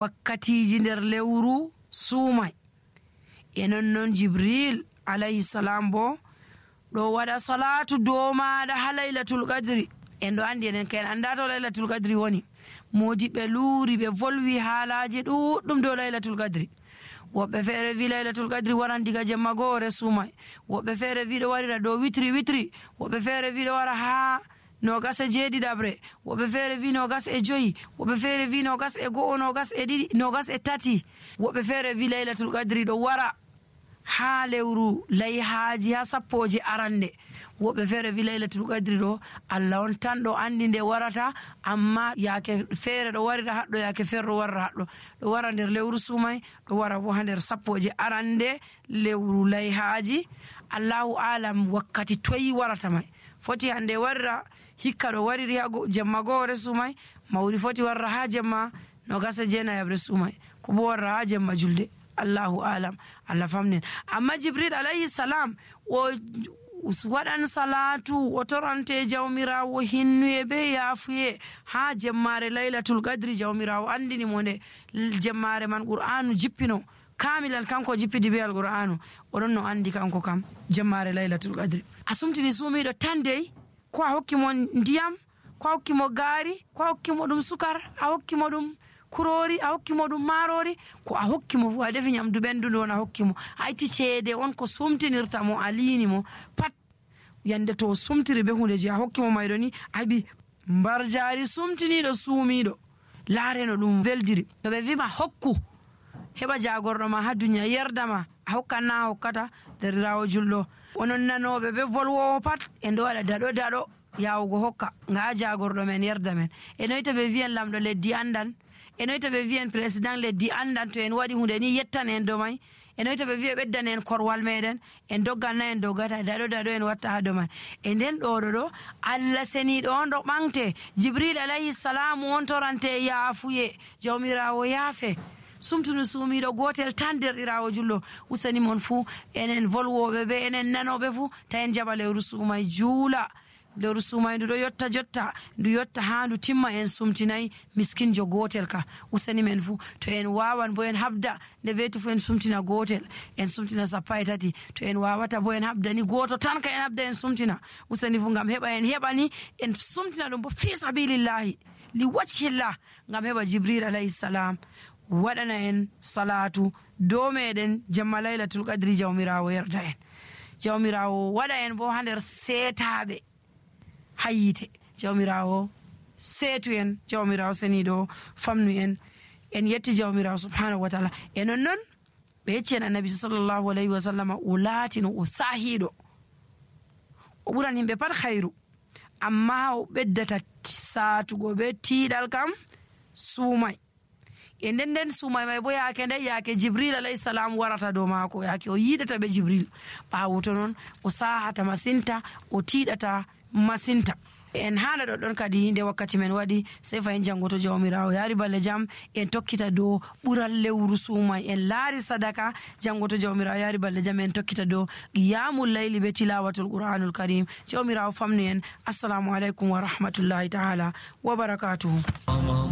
wakkatiji nder lewru suumay. E non Jibril alayhi salam bo ɗo waɗa salatu dow maɗa ha laylatul qadri. En ɗo andi enen kayen anda to laylatul qadri woni. Modi ɓe luuri ɓe volwi haalaji ɗuɗɗum dow laylatul qadri. Woɓɓe feere wi laylatul qadri waran diga jemma goore suumay, woɓɓe feere wi ɗo warira dow witri, woɓɓe feere wi ɗo wara ha 27, woɓɓe feere wi 25, woɓɓe feere wi 21, 22, 23, woɓɓe feere wi laylatul qadri ɗo wara ha lewru layhaji ha sappoje arande. Woɓɓe feere wi laylatul qadri ɗo Allah on tan ɗo andi nde warata, amma yaake feere ɗo warira haɗɗo, yaake feere ɗo warira haɗɗo. Ɗo wara nder lewru suumay, ɗo wara bo ha nder sappoje arande lewru layhaji. Allahu alam wakkati toyi warata may. Foti hande warira hikka ɗo wariri ha jemma goore suumay, mawri foti warra ha jemma 29 suumay, ko bo warra ha jemma julde. Allahu alam, Allah famnen. Amma Jibril alayhi salam o waɗan salatu o torante jawmirawo hinnuye be yaafuye ha jemmare laylatul qadri. Jawmirawo andini mo nde jemmare man qur'anu jippino kamilan, kanko jippidi be alqur'anu. Oɗon no andi kanko kam jemmare laylatul qadri. A sumtini suumiɗo tan dey, ko a hokki mo ndiyam, ko a hokki mo gaari, ko a hokki mo ɗum sukar, a hokki mo ɗum kurori, a hokki mo ɗum marori, ko a hokki mo fu a defi nyamdu ɓendudu on a hokki mo, a itti ceede on ko sumtinirta mo a liini mo pat. Yande to sumtiri be hunde je a hokki mo mayɗo ni, abi mbar jaari sumtiniɗo suumiɗo laareno ɗum veldiri. To ɓe wima hokku heɓa jagorɗo ma ha duniya yerdama, a hokkan na a hokkata. Derirawo julɗo, onon nanoɓe be volwowo pat en ɗo waɗa daɗo yawugo hokka nga jagorɗo men yerda men. E noyi to ɓe wiyan lamɗo leddi andan, e noyi to ɓe wiyan président leddi andan to en waɗi hunde ni yettan en dow may. E noyi to ɓe wiya ɓeddan en korwal meɗen, en dogganna en doggata, daɗo en watta ha dow man. E nden ɗo Allah seniɗo on ɗo ɓamte. Jibril alayhi salam on torante yaafuye, jawmirawo yaafe. Sumtunu suumiɗo gotel tan derɗirawo julɗo, usani mon fuu enen volwoɓe be enen nanoɓe fuu ta en jaɓa lewru suumay juula. Lewru suumay ndu ɗo yotta jotta, ndu yotta ha ndu timma en sumtinayi miskinjo gotel ka. Usani men fuu to en wawan bo en habda nde weti fuu en sumtina gotel, en sumtina 13. To en wawata bo en habda ni goto tan ka en habda en sumtina. Usani fuu ngam heɓa en heɓani en sumtina ɗum bo fi sabilillahi li wajhillah, ngam heɓa Jibril alayhi salam waɗana en salatu dow meɗen jemma laylatul qadri. Jawmirawo yerda en, jawmirawo waɗa en bo ha nder seetaɓe ha yite. Jawmirawo seetu en, jawmirawo seniɗo famnu en. En yetti jawmirawo subhanahu wa taala. E non ɓe yecci en annabi sallallahu alayhi wa sallam o laatino o saahiɗo, o ɓuran yimɓe pat hayru, amma o ɓeddata saatugo be tiiɗal kam suumay. E nden suumay may bo yaake nde yaake Jibril alayhi salam warata dow maako, yaake o yiidata be Jibril. ɓaawo to noon o saahata masinta, o tiiɗata masinta. En haala ɗoɗɗon kadi nde wakkati men waɗi, sey fayin janngo to jawmirawo yaari balle jam en tokkita dow ɓural lewru suumay. En laari sadaka janngo to jawmirawo yaari balle jam en tokkita dow qiyamul layli be tilawatul qur'anul karim. Jawmirawo famnu en. Assalamu aleykum wa rahmatullahi ta'ala wa barakatuhu.